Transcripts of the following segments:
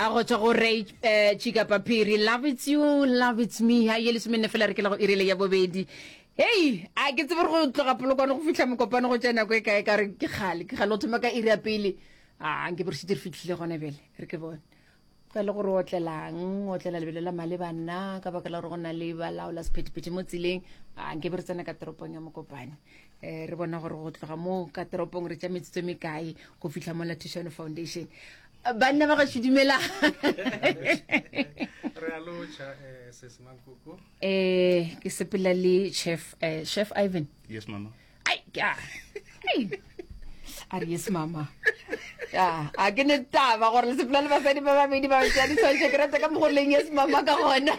A go tšwa go Ray eh, Chika Paphiri, Love It's You, Love It's Me. Ha ye lesomenne fela re ke la go irile ya bobedi. Hei, a ke tsebe gore go tloga Polokwane go fihla Mokopane go tšea nako e kae ka re ke kgale, ke kgale go thoma ka iri ya pele. A nke be re šetše re fihlile gona bjale, re ke bone. Ka le gore o otlelang, o otlela lebelo la maleba nna ka baka la gore go na le balaola sephethephethe mo tseleng. A nke be re tsena ka toropong ya Mokopane. Eh, re bona gore go tloga mo ka toropong re tša metsotso e mekae go fihla mo la Thušano Foundation. Banna ba gašo dumela. Re a lotšha eh, sesi Mankoko. Eh, ke sepela le chef eh, chef Ivan. Yes mama. Ai, ke a. Ai. A re yes mama. Ya, a ke ne taba gore le sepela le basadi ba babedi ba tšea ditshwantšho ke rata ka mokgo leng yes mama ka gona.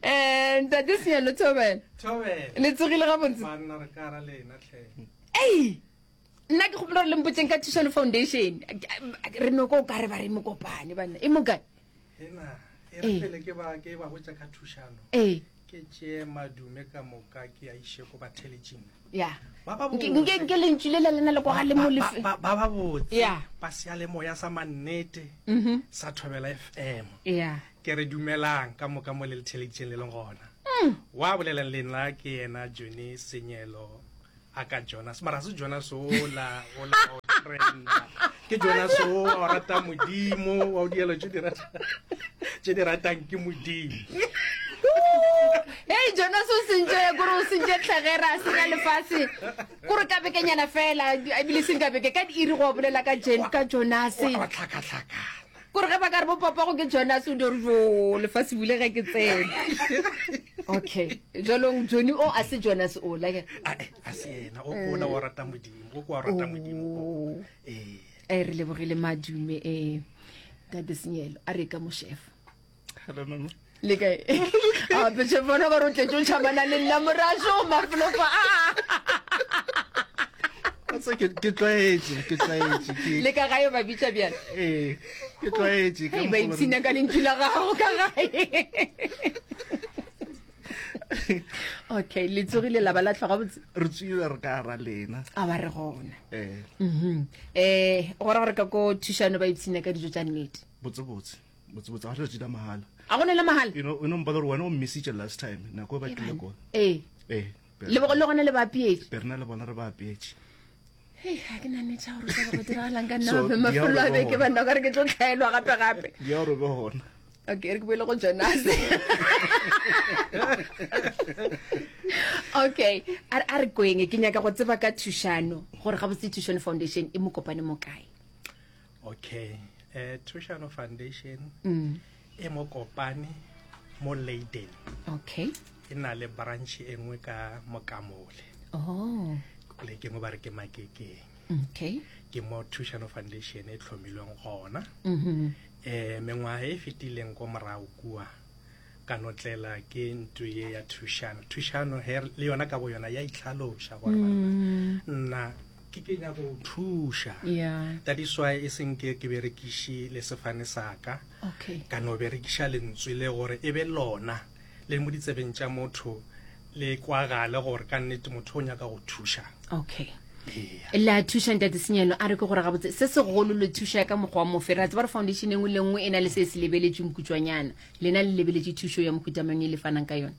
Eh, ntate Senyalo Thobela. Thobela. Le tsogile gabotse? Banna re ka ra lena tlhe. Ei! Nna ke gopola gore le mpotseng ka Thušano Foundation. Re no ko ka re ba re mokopane banna. E mokae? Ena, e re pele ke ba ke ba botša ka thušano. Ee. Ke tšee madume ka moka ke a iše ko batheletšing. Ya. Ba ba botse. Nke nke lentšu le la lena le kwa le mo lefe. Ba ba ba botse. Ya. Ba seyalemoya sa mannete. Mhm. Sa Thobela FM. Ya. Ke re dumelang ka moka mo le le theleditšeng le leng gona. Wa bolelang le nna ke yena Johnny Senyelo a ka Jonas mara se Jonas ola ola wa o trenda ke Jonas o wa o rata modimo wa o dielo tše di rata tše di ratang ke modimo Hey Jonas o sentše kore o sentše tlhegera a senya lefase kore ka bekenyana fela ebile seng ka beke ka diiri go bolela ka Jen ka Jonas wa tlhakatlhakana kore ge ba ka re bo papa go ke Jonas o di re jo lefase bule ge ke tsene okay jwalong Johnny o a se Jonas o la ke a a se yena o ko ola wa rata modimo o ko wa rata modimo Oh. ee eh re lebogile madume eh ntate Senyelo a re ka mo chef Hello mama. le kae a pe chef bona gore o tletse o tšhabana le nna morašo mafolofa Wa tseba ke ke tlwaetše, ke tlwaetše ke le ka gae ba bitša bjale ee, ke tlwaetše ka Hei, ba mokgwa o ipshina ka lentšu la gago ka gae okay le tsogile la ba la tlhoga botse re tswile re ka ra lena a ba re gona eh mhm eh go ra gore ka ko thušano ba ipshina ka dijo tša nnete botse botse botse botse ga re tšila mahala a gone le mahala you know o no mpala gore wena o mmisitše last time nako e ba tlile ko ee ee le le gona le ba apeetše berna le bona re ba apeetše hei ga ke na nnete ya gore tla go diragalang ka nna So, gape mafelo a di a beke roba banna o ka re ke tlo tlhaelwa gape gape di a robe gona okay re ke boele go jonas okay a re- a re kweng ke nyaka go tseba ka thušano gore gabotse thušano foundation e mo kopane mo kae okay eh thušano foundation mm. e mo kopane mo Leiden okay e na le branch e nngwe ka mokamole oh poleke engwe ba re ke makekeng okay ke mo thušano foundation e tlhomilweng gona mm -hmm. eh mengwaga e fetileng ko morago kua ka notlela ke ntlo ye ya thušano thušano he le yona ka bo yona ya itlhaloša gore banna mm. nna ke ke nyaka go thuša yeah that is why e seng ke ke berekiše le sefane sa ka okay ka no berekiša lentswe le gore e be lona le mo ditsebeng tša motho le kwagale gore ka nnete motho o nyaka go thuša okay Eya. le a thuša ntate senyelo a re ke gore gabotse se segolo le thuša ka mokgwa wa mofe re a tseba gore foundation e nngwe le nngwe e na le se se lebeletšweng kutšwanyana lena le lebeletše thušo ya mohuta mang e le fanang ka yona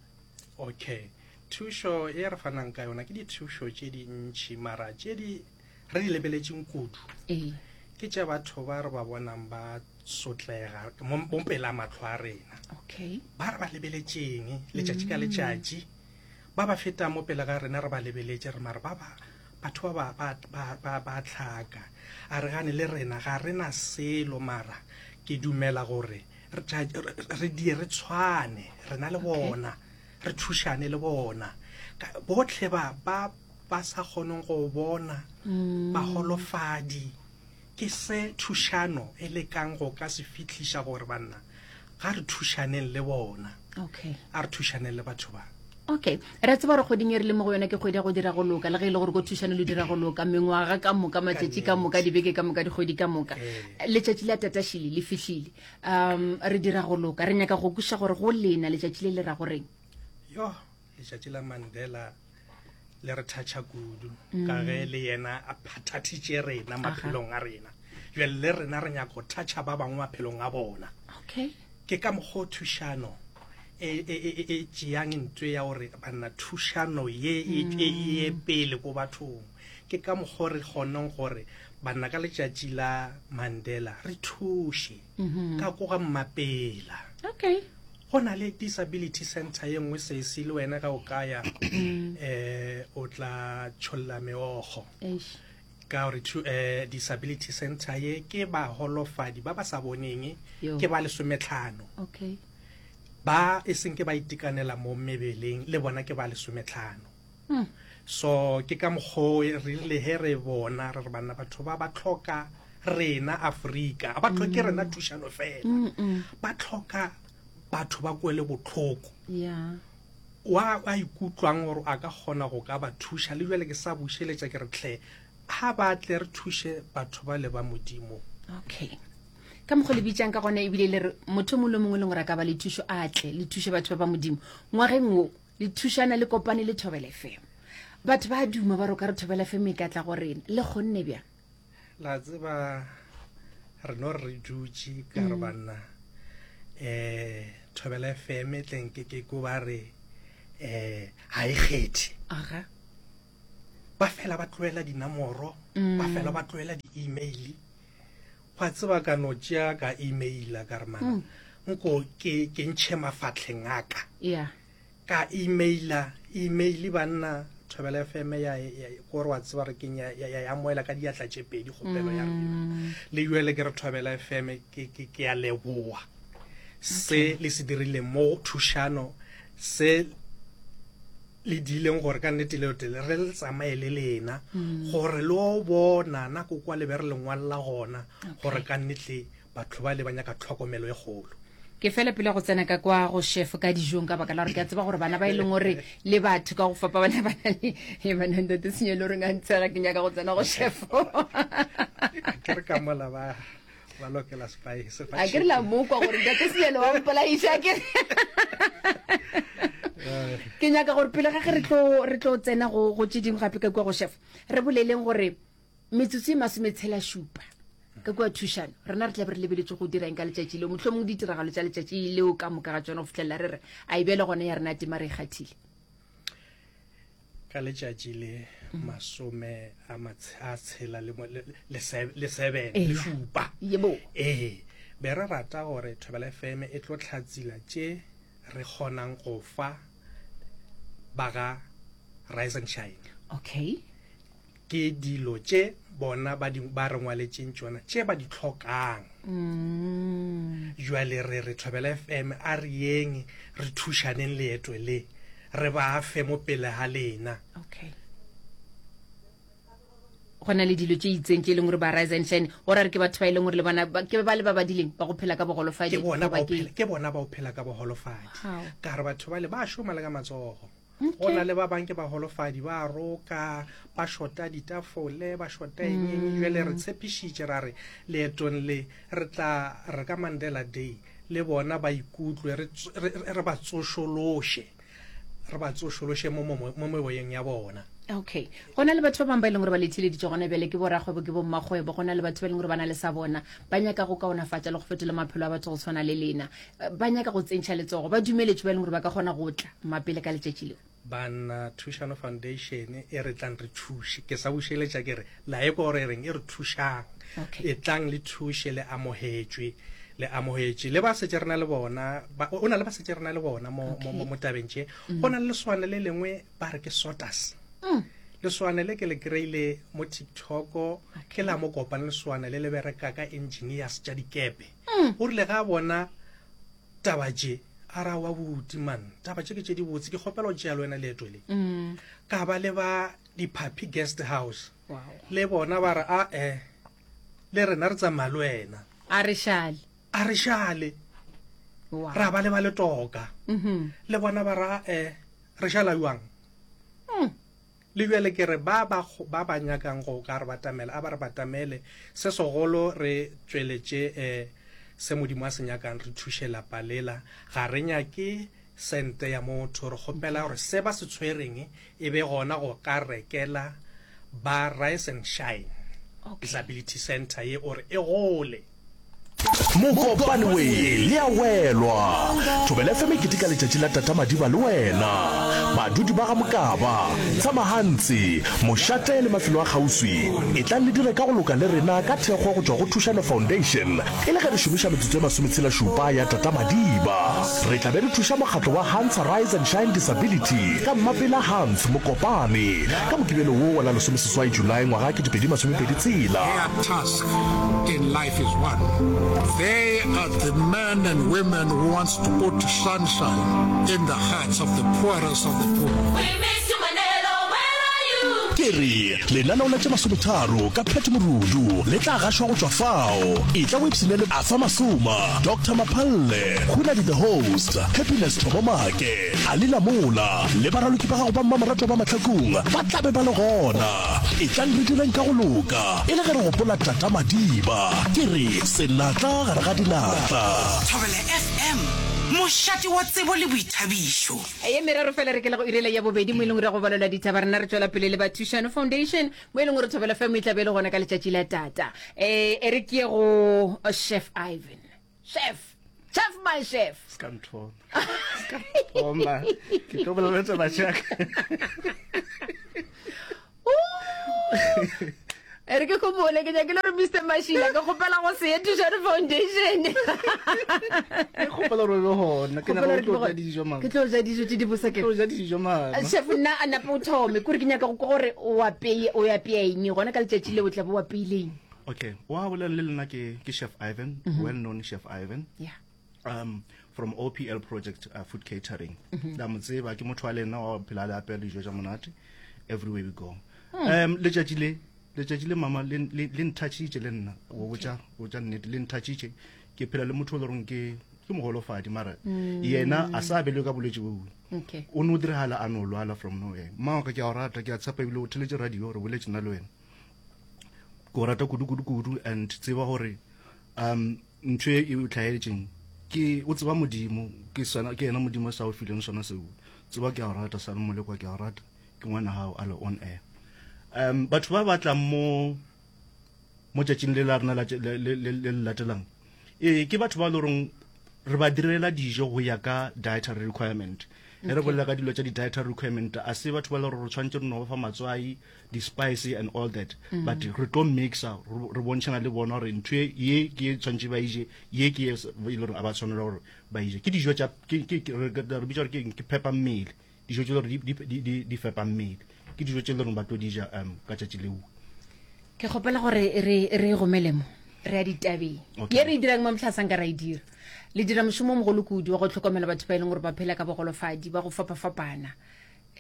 okay thušo e re fanang ka yona ke dithušo tše dintšhi mara tše di re di lebeletšeng kudu ee ke tša batho ba re ba bonang ba sotlega mo mo pela mahlo a rena okay ba re ba lebeletšeng letšatši ka letšatši ba ba fetang mo pele ga rena re ba lebeletše re mare ba ba batho ba ba ba ba ba tlhaka a re gane le rena ga re na selo mara ke dumela gore re tša- re- re die re tshwane rena le bona re thušane le bona Ka- botlhe ba ba ba sa kgoneng go bona baholofadi ke se thušano e lekang go ka se fihliša gore banna ga re thušaneng le bona okay a re thušaneng le batho ba okay re a tseba gore kgweding e re le mo go yona ke kgwedi ya go dira go loka le ge e le gore ko thušano le dira go loka mengwaga ka moka matšatši ka moka dibeke ka moka dikgwedi ka moka Ee. letšatši la tatašile le fihlile um re dira go loka re nyaka go kweša gore go lena letšatši le le ra goreng yo letšatši la mandela le re thatšha kudu ka ge le yena a phathathitše rena maphelong a rena. Bjale le rena re nyaka go thatšha ba bangwe maphelong a bona. Okay. Ke ka mokgwa o thušano e, e, e, e tšeang ntwe ya gore banna thušano ye e, e ye pele ko bathong. Ke ka mokgwa re kgoneng gore banna ka letšatši la Mandela re thuše ka ko ga Mmapela. Okay. Go na le disability center ye nngwe sesi le wena ge o ka ya eh o tla tšholla meokgo. Eish. Ka gore eh, disability center ye ke baholofadi ba ba sa boneng Yo. ke ba lesometlhano. Okay. Ba e seng ke ba itekanela mo mebeleng le bona ke ba lesometlhano. So ke ka mokgwa re rile he re bona re re banna batho ba ba tlhoka rena Afrika, ga ba tlhoke rena thušano fela, ba tlhoka batho ba kwele botlhoko. Yeah. Wa a ikutlwang gore a ka kgona go ka ba thuša le jale ke sa bušeletša ke re tlhe ga ba tle re thuše batho ba le ba Modimo. Okay. Ka mokgwa le bitsang ka gona ebile le re motho mongwe le mongwe le gore a ka ba le thušo a tle le thuše batho ba ba Modimo. Ngwageng wo Le thušana le kopane le Thobela FM. Batho ba duma ba re o ka re Thobela FM e ka tla go rena. Le kgonne bjang? La tseba re no re dutše ka re banna eh Thobela FM e tleng ke ke ko ba re eh ha e kgethe. Aga. Ba fela ba tlohela dinamoro, ba fela ba tlohela di-email. Gwa tseba ka no tšea ka emaila ka re mana nko ke ke ntšhe mafatlheng a ka. Yeah. Ka emaila email banna Thobela FM ya gore wa tseba re keng ya ya ya amoela ka diatla tše pedi kgopelo ya rena. Le jwale ke re Thobela FM ke ke ke ya leboa se le se dirileng mo thušano se le diileng gore ka nnete leo tele re le tsamaye le lena gore le o bona nako kwa le be re le ngwalela gona gore ka nnete batho ba le ba nyaka tlhokomelo e kgolo. Ke fela pele go tsena ka kwa go chef ka dijong ka baka la gore ke a tseba gore bana ba e leng gore le batho ka go fapa bana ba na le e bana ntate senye le gore nga ntshega ke nyaka go tsena go chef. Ke re ka mola ba ba lokela spice a ke re la mokwa gore ntate senyelo wa mpolaiša ke ke nyaka gore pele ga ge re tlo re tlo tsena go go tše dingwe gape ka kua go chef re boleleng gore metsotso e masometshela šupa ka kua thušano rena re tla be re lebeletše go dira eng ka letšatši leo mohlomongwe ditiragalo tša letšatši leo ka moka ga tšona go fitlhelela re re a e bjale gona ya rena tema re e kgathile Ka letšatši le masome a a tshela le, le, le, le seven le šupa. Yebo. Ee, be re rata gore Thobela FM e tlo hlatsila tše re kgonang go fa ba ga Rise and Shine. Okay. Ke dilo tše bona ba di ba re ngwaletšeng tšona tše ba di tlhokang. Mm. Jwale re re Thobela FM a re yeng re thušaneng leeto le re ba fe mo pele ga lena. Okay. Go na le dilo tše itseng tše e leng gore ba Rise and Shine go ra re ke batho ba e leng gore le bona ke ba le ba badileng ba go phela ka bogolofadi ke bona ba ke bona ba o phela ka bogolofadi ka re batho ba le ba šoma le ka matsogo. Go na le ba bang ke bagolofadi, ba roka, ba šota ditafole, ba šota eng eng. Jwale re tshepišitše ra re leetong le re tla re ka Mandela Day le bona ba ikutlwe re, re, re ba tsošološe, re ba tsošološe mo, mo, mo meboyeng ya bona. Okay. Go na le batho ba bangwe ba e leng gore ba le theeleditše gona bjale, ke borakgwebo, ke bommakgwebo. Go na le batho ba e leng gore ba na le sa bona, ba nyaka go kaonafatša le go fetola maphelo a batho go tshwana le lena. Ba nyaka go tsentšha letsogo, ba dumeletšwe ba e leng gore ba ka kgona go tla mapele ka letšatši leo. Banna, Thušano Foundation e re tlang re thuše. Ke sa bušeletša ke re, la ekwa gore e reng, e re thušang. Okay. E tlang le thuše, le amogetšwe, le amogetše. Le ba setše re na le bona, ba, o na le ba setše re na le bona mo, Okay. mo, mo, mo tabeng tše. Go na le leswane le lengwe ba re ke Sotas. Leswane le ke le kry-ile mo TikTok, Okay. ke la mo kopane leswane le le bereka ka engineers tša dikepe. O rile ge a bona taba tše, a ra wa buti man, taba tše ke tše dibotse, ke kgopela go tšea le wena leeto le. Ka ba le ba Diphaphi Guest House, Wow. le bona ba re a e, le rena re tsamaya le wena. A re šale. A re šale. Wow. Ra ba le ba Letoka, le bona ba re a e, re šala bjang? Le bjale ke re ba ba ba ba nyakang go ka re batamela, a ba re batamele. Se segolo re tšweletše eh, se Modimo a se nyakang, re thuše lapa lela. Ga re nyake sente ya motho, re kgopela gore se ba se tshwereng e be gona go ka rekela ba Rise and Shine. Disability Center ye ore e gole. Mokopane we le a welwa. Thobela FM e keteka letšatši la Tata Madiba le wena. Badudi ba ga Mokaba, Tshamahantsi, Mošate le mafelo a kgauswi, etlang le dire ka go loka le rena ka thekgo go tšwa go Thušano Foundation e le ge re šomiša metsotso e masometshela-šupa ya Tata Madiba. Re tla be re thuša mokgatlo wa Hans Rise and Shine Disability ka Mmapela Hans Mokopane ka Mokibelo wo wa la lesomeseswai Julae ngwaga 2026. Their task in life is one. They are the men and women who wants to put sunshine in the hearts of the poorest of the poor. We miss you Manelo, where are you? Ke re, lenaneo la tše masometharo ka Pat Morudu le tla gašwa go tšwa fao. Etla o ipshine le Arthur Masoma, Doctor Maphalle, Khunadi the Host, Happiness Thobo Make, Ali Lamola le baraloki ba gago ba mmamoratwa ba Mahlakung ba tla be ba le gona. Etlang re direng ka go loka e le ge re gopola Tata Madiba. Ke re senatla gare ga dinatla. Thobela FM, mošate wa tsebo le boithabišo. Ye meraro fela re ke le go irela ya bobedi mo e leng gore go balelwa ditaba rena re tšwela pele le ba Thušano Foundation mo e leng gore Thobela FM e tla be e le gona ka letšatši la tata. Eh, e re ke ye go Chef Ivan. Chef, chef my chef. Se ka nthoma. Se ka nthoma. Ke tlo bolela taba tša ka. E re ke gopole ke nyakile gore Mr Mashila ke kgopela go se ye Thušano Foundation. Ke kgopela gore o be gona. Ke nyaka go tlo ja dijo mama. Ke tlo ja dijo tše di bose ke. Tlo ja dijo mama. Chef nna a nape o thome kore ke nyaka go kwa gore o apeye o apea eng gona ka letšatši leo o tla be o apeile eng. Okay, wa bolela le lena ke ke Chef Ivan, mm -hmm. well known Chef Ivan. Yeah. From OPL Project Food Catering. Mm -hmm. La mo tseba ke motho wa lena wa phela le apea dijo tša monate everywhere we go. Letšatši le letšatši le mama le le nthatšitše le nna go botša go tša nnete le nthatšitše ke phela le motho o le reng ke ke mogolofadi mara yena a sa abelwe ka bolwetši bo okay. o no diragala a no lwala from nowhere mma wa ka ke a o rata ke a tshepa ebile o theletše radio re boletše nna le wena Ke o rata kudu kudu kudu and tseba gore um ntho e o tlhaetšeng ke o tseba modimo ke sona ke yena modimo sa o fileng sona seo tseba ke a o rata sa molekwa ke a o rata ke ngwana gago a le on air um batho ba batlang mo mo tšatšing le la rena le le latelang ee ke batho ba le goreng re ba direla dijo go ya ka dietary requirement e re bolela ka dilo tša di-dietary requirement a se batho ba le gore re tshwanetse re no ba fa matswai di-spice and all that mm. but re tlo mixa re bontšhana le bona gore ntho ye ke e tshwanetse ba ije ye ke e e le gore a ba tshwanela gore ba ije ke dijo tša re bitsa gore ke phepa mmele dijo tse gore di fepa mmele ke dijo tse le gore ba tlo di ja um ka tšatši leo ke kgopela gore re re gomele mo re ya ditabeng ye re e dirang mo motlhasang ka ra e dira le dira mošomo o mogolo kudu wa go tlhokomela batho ba e leng gore ba phela ka bogolofadi ba go fapafapana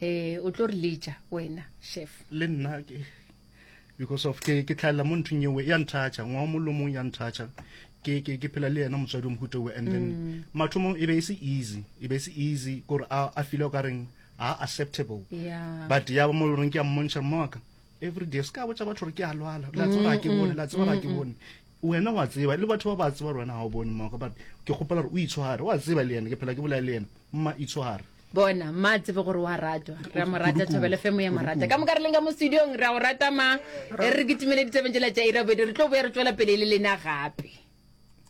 eh o tlo re letša wena chef le nna ke because of ke ke tlhalela mo nthong ewe ya nthatša ngwa mo lomong ya nthatša ke ke ke phela le yena motswadi o mohuta owe and then mm. mathomong e be e se easy e be e se easy gore a a feel o ka reng a acceptable yeah. but ya mo reng ke a mmontšha mma wa ka every day se ka botša batho gore ke a lwala la tseba ga ke bone la tseba ga ke bone wena wa tseba le batho ba ba tseba gore wena ga o bone mma wa ka but ke kgopela gore o itshware wa tseba le yena ke phela ke bolaya le yena mma itshware Bona, mma a tsebe gore wa ratwa. Re a mo rata, Thobela FM ya mo rata. Ka moka re leng ka mo studiong, re a go rata ma. E re re kitimele ditabeng tšela tša iri ya bobedi, re tlo boya re tšwela pele le lena gape.